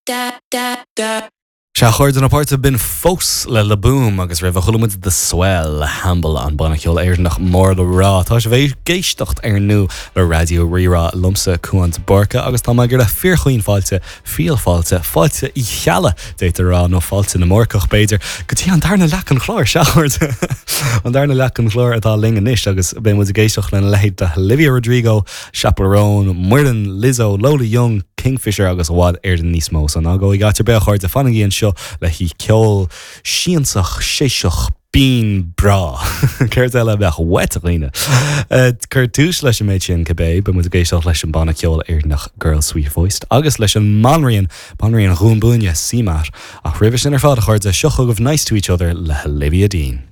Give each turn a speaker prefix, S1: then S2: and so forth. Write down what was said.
S1: Sea, a chairde na páirte, b'in fós le Le Boom agus roimhe chuala muid The Swell le Hamble, an banna ceoil Éireannach mór le rá. Tá sibh ag éisteacht ar ndóigh le Raidió Rí-Rá liomsa, Cuán de Búrca, agus tá mé ag iarraidh fíorchaoin fáilte, fial fáilte, fáilte Uí Cheallaigh, d'fhéadfaí a rá, nó fáilte na mBúrcach, b'fhéidir, go dtí an darna leath den chlár. Sea, a chairde, an darna leath den chlár atá linn anois agus beidh muid ag éisteacht lena leithéid de Olivia Rodrigo, Chappell Roan, Muireann, Lizzo, Lola Young, Kingfisher agus i bhfad Éireann níos mó. So ná gabhaigí áit ar bith a chairde, fanaigí anseo le haghaidh ceol siansach, séiseach, binn, breá. Céard eile a bheadh uait, a dhaoine? Cur tús leis an méid sin, cibé, beidh muid ag éisteacht leis an banna ceoil Éireannach Girl Sweet Voiced agus leis an mbanríon, banríon Dhún Búinne, CMAT. Ach roimhe sin ar fad, a chairde, seo chugaibh Nice to Each Other le hOlivia Dean.